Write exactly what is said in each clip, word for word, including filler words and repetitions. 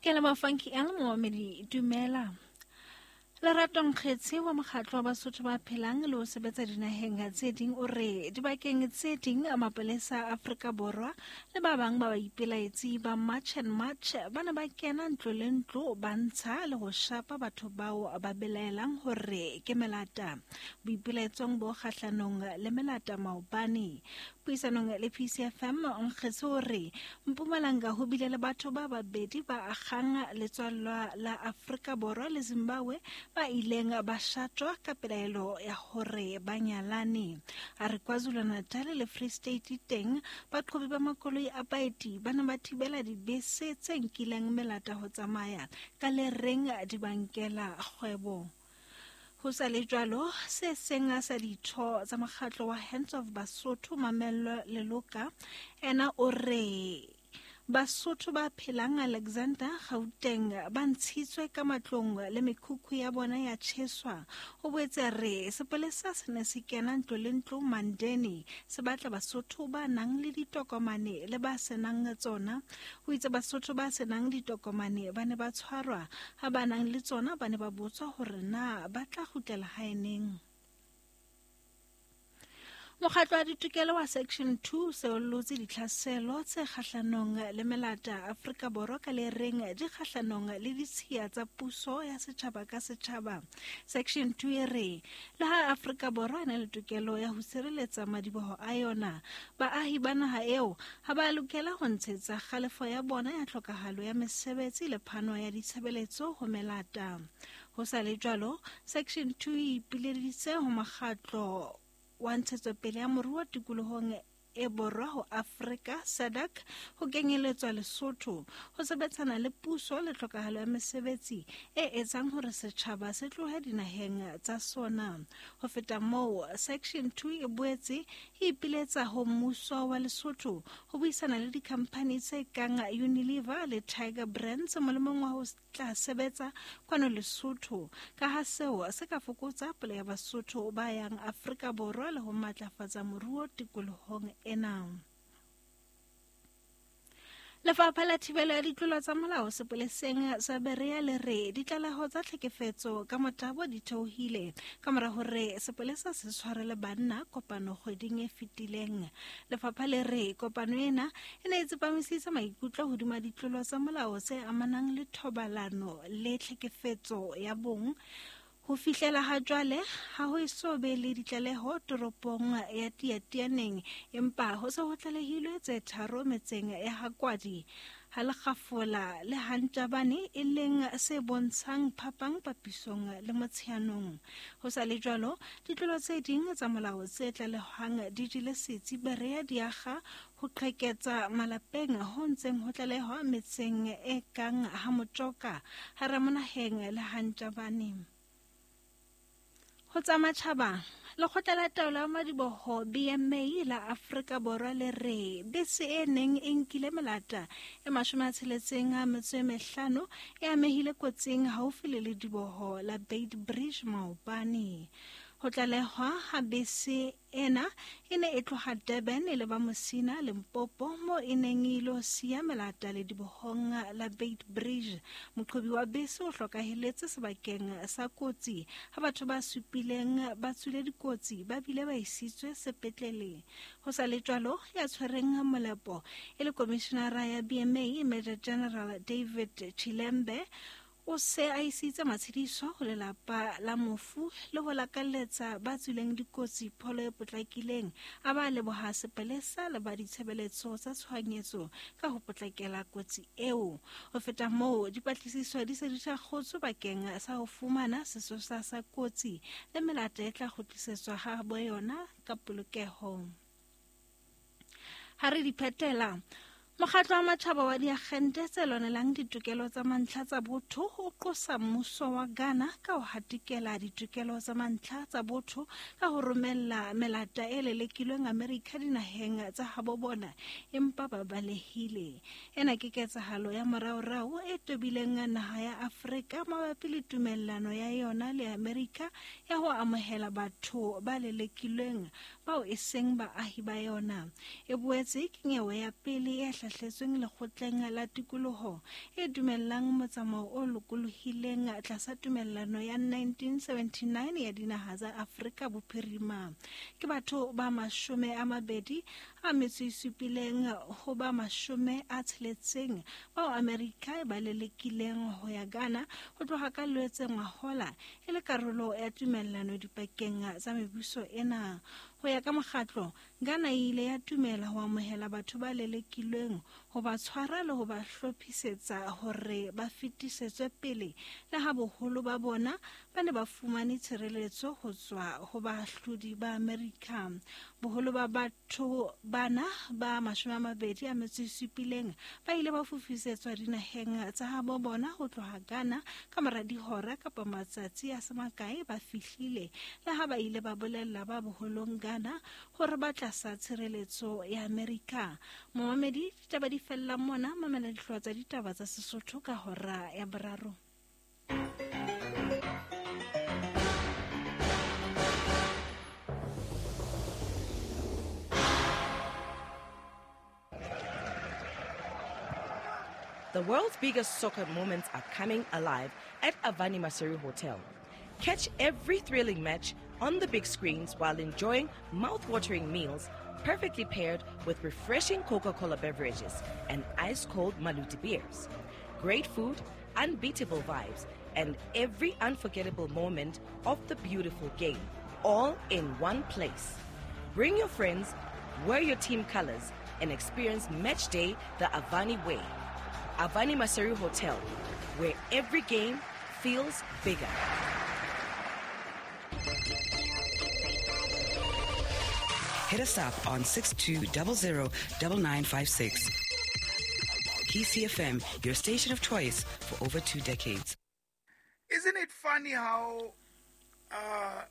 Ke le Funky L momamedi, dumela. Lerato Nkgetse wa mokgatlo wa Basotho ba phelang le ho sebetsa dinaheng tse ding o re dibakeng tse ding mapolesa a Afrika Borwa le ba bang ba baipelaetsi ba March and March ba ne ba kena ntlo le ntlo ba ntsha le ho shapa batho bao ba belaelang hore ke melata. Boipelaetsong bo kgahlanong le melata maobane. Puisanong le P C F M Nkgetse o re Mpumalanga ho bile le batho ba babedi ba akgang letswallwa la Afrika Borwa le Zimbabwe ba ileng ba shatjwa ka pelaelo ya hore ba nyalane. A re KwaZulu-Natal le Free State teng baqhobi ba makoloi a baeti ba ne ba thibela dibese tse nkileng melata ho tsamaya ka le reng di bankela kgwebo. Ho sa le jwalo, se seng sa ditho tsa mokgatlo wa Hands of Basotho Mamello Leloka ena o re Basotho ba phelang Alexander Gauteng ba ntshitswe ka matlong le mekhukhu ya bona ya tjheswa. O boetse re sepolesa se ne se kena ntlo le ntlo Mandeni se batla Basotho ba nang le ditokomane le ba senang tsona. O itse Basotho ba senang ditokomane ba ne ba tshwarwa, ha ba nang le tsona ba ne ba botswa hore na ba tla kgutlela hae neng. Mokgatlo wa ditokelo wa Section two se ollotse ditlhaselo tse kgahlanong le melata Afrika Borwa ka le reng di kgahlanong le ditshiya tsa puso ya setjhaba ka setjhaba. Section two e re le ha Afrika Borwa e na le tokelo ya ho sireletsa madiboho a yona, baahi ba naha eo ha ba lokela ho ntshetsa kgalefo ya bona ya tlhokahalo ya mesebetsi le phano ya ditshebeletso ho melata. Ho sa le jwalo, Section two e ipileditse ho mokgatlo wa ntshetsopele ya moruo tikolohong e borwa ho Afrika SADC ho kenyeletswa Lesotho ho sebetsana le puso le tlhokahalo ya mesebetsi e etsang hore setjhaba se tlohe dinaheng tsa sona. Ho feta moo, Section two e boetse e ipiletsa ho mmuso wa Lesotho ho buisana le dikhamphani tse kang Unilever le Tiger Brands molemong wa ho tla sebetsa kwano Lesotho, ka ha seo se ka fokotsa palo ya Basotho ba yang Afrika Borwa le ho matlafatsa moruo tikolohong ena. Lefapha la thibelo ya ditlolo tsa molao sepoleseng sa Berea le re ditlaleho tsa tlhekefetso ka motabo di theohile ka mora hore sepolesa se tshwarele banna kopano kgweding e fetileng. Lefapha le re kopano ena e ne e tsepamisitse maikutlo hodima ditlolo tsa molao tse amanang le thobalano le tlhekefetso ya bong. Ho fihlela ha jwale ha ho eso be le ditlaleho toropong ya Tiatianeng, empa ho se ho tlalehilwe tse tharo metseng ya Hakwadi, ha Lekgafola le Hantabane, e leng se bontshang phapang papisong le Motsheanong. Ho sa le jwalo, ditlolo tse ding tsa molao tse tlalehwang di jele setsi Berea di akga ho qheketsa malapeng ho ntseng ho tlalehwa metseng e kang ha Motjoka, ha Ramonaheng le Hantabane. Ho tsa matjhaba, lekgotla la taolo ya madiboho B M A la Afrika Borwa le re bese e neng e nkile melata e mashome a tsheletseng a metso e mehlano e amehile kotsing haufi le lediboho la Beit Bridge maobane. Ho tlalehwa ha bese ena e ne e tloha Durban e leba Musina, Limpopo, mo e neng e ilo siya melata ledibohong la Beit Bridge. Moqhobi wa bese o hlokahelletse sebakeng sa kotsi ha batho ba supileng ba tswile dikotsi ba bile ba isitswe sepetlele. Ho sa le jwalo, ya tshwereng molepo e le komishenara ya B M A Major General David Chilembe o se a isitse matshediso ho lelapa la mofu le ho lakaletsa ba tswileng dikotsi pholo e potlakileng, a ba leboha sepolesa le ba ditshebeletso tsa tshohanyetso ka ho potlakela kotsi eo. Ho feta moo, dipatlisiso di se di thakgotswe bakeng sa ho fumana sesosa sa kotsi le melata e tla kgutlisetswa ha bo yona ka polokeho. Ha re di phetela, Mokgatlo wa matjhaba wa diakgente tse lwanelang ditokelo tsa mantlha tsa botho o qosa mmuso wa Ghana ka ho hatikela ditokelo tsa mantlha tsa botho ka ho romella melata e lelekilweng Amerika dinaheng tsa habo bona empa ba balehile. Ena ke ketsahalo ya moraorao e tobileng naha ya Afrika mabapi le tumellano ya yona le Amerika ya ho amohela batho ba lelekilweng bao e seng baahi ba yona. E boetse ke nyewe ya pele e hlahletsweng lekgotleng la tikoloho e dumellang motsamao o lokolohileng tlasa tumellano ya nineteen seventy-nine ya dinaha tsa Afrika Bophirima. Ke batho ba mashome a mabedi a metso e supileng ho ba mashome a tsheletseng bao Amerika e ba lelekileng ho ya Ghana ho tloha ka Loetse ngwahola e le karolo ya tumellano dipakeng tsa mebuso ena. Ho ya ka mokgatlo, Ghana e ile ya tumela ho amohela batho ba lelekilweng, ho ba tshwara le ho ba hlophisetsa hore ba fetisetswe pele, le ha boholo ba bona ba ne ba fumane tshireletso ho tswa ho baahlodi ba Amerika. Boholo ba batho bana ba mashome a mabedi a metso e supileng ba ile ba fofisetswa dinaheng tsa habo bona ho tloha Ghana ka mora dihora kapa matsatsi a se makae ba fihlile, le ha ba ile ba bolella ba boholong Ghana hore ba tlasa tshireletso ya Amerika. Momamedi, ditaba di fella mona, mamela dihlooho tsa ditaba tsa Sesotho ka hora ya boraro. The world's biggest soccer moments are coming alive at Avani Maseru Hotel. Catch every thrilling match on the big screens while enjoying mouth-watering meals perfectly paired with refreshing Coca-Cola beverages and ice-cold Maluti beers. Great food, unbeatable vibes, and every unforgettable moment of the beautiful game, all in one place. Bring your friends, wear your team colors, and experience match day the Avani way. Avani Maseru Hotel, where every game feels bigger. Hit us up on six two zero zero nine nine five six. K C F M, your station of choice for over two decades. Isn't it funny how uh,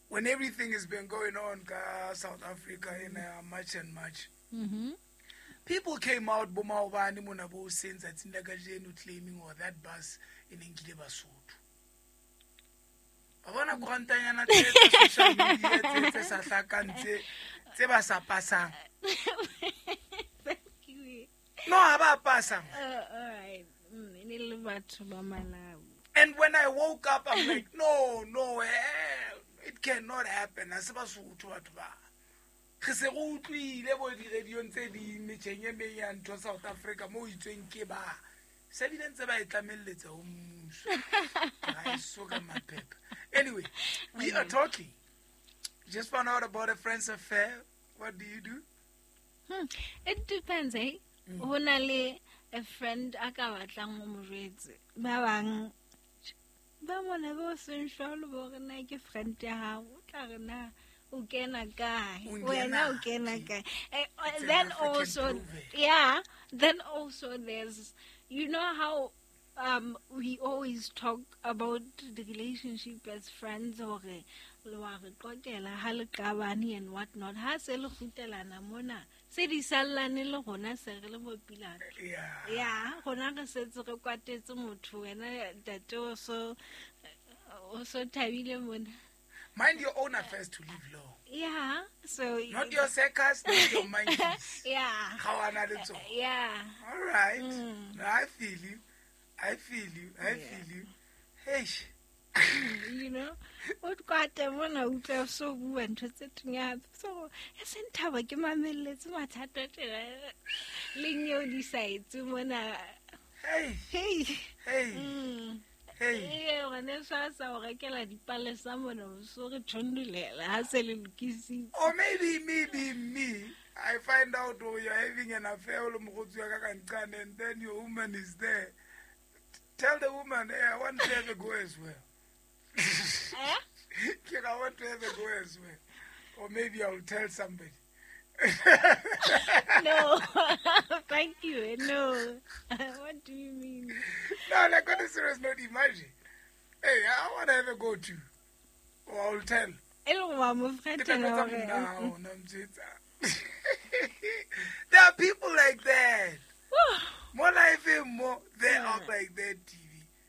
when everything has been going on in South Africa in uh, March and March, mm-hmm. people came out bo maobane mona bo seng tsatsing la kajeno claiming or that bus e neng kile Basotho. Ba bona korantanyana tse social media tse tse sa hlakang tse tse ba sa pasang. Thank you. No, ha ba pasang. Uh, all right. Mm, ne le batho ba Malawi. And when I woke up, I'm like, no, no, eh, it cannot happen. Ha se Basotho batho ba. Re se re utlwile bo di-radiong tse ding metjheng e meng ya ntho South Africa mo itsweng ke ba se bile ntse ba e tlamelletsa ho mmuso. Ha e so ka maphepha. Anyway, we are talking. Just found out about a friend's affair. What do you do? Hmm. It depends, eh? Mm. Ho na le a friend a ka batlang ho mo jwetse. Ba bang ba mona bo seng jwalo bo re na ke friend ya hao, o tla re na o kena kae, wena o kena kae. Then also, yeah, then also there's, you know how um, we always talk about the relationship as friends or wa re qoqela ha le qabane and what not. Ha se le kgutlelana mona se di sallane le rona se re le mo pila. Yeah. Yeah, rona re setse re kwatetse motho wena ntate o so o so thabile mona. Mind your own affairs to live low. Yeah. So not your circus, not your monkeys. Yeah. Yeah. All right. Mm. I feel you. I feel you. I yeah. feel you. Hey. You know, o kwate mona utlwa so bua ntho tse teng so e se nthaba ke mamelletse mathata tjena leng eo di sa etse mona. Hey. Hey. Hey. Mm. Hey. Eh, ngwane sa sa o rekela dipalesa mona o so re thondulela ha se le lokisitse. Or maybe maybe me, I find out oh, you're having an affair le mogotsi wa ka kancane and then your woman is there. Tell the woman, hey, I want to have a go as well. Eh? I want to have a go as well. Or maybe I'll tell somebody. No, thank you. No. What do you mean? No, like on a serious note, imagine. Hey, I want to have a go too. Or I'll tell. There are people like that. More life, more they are like that.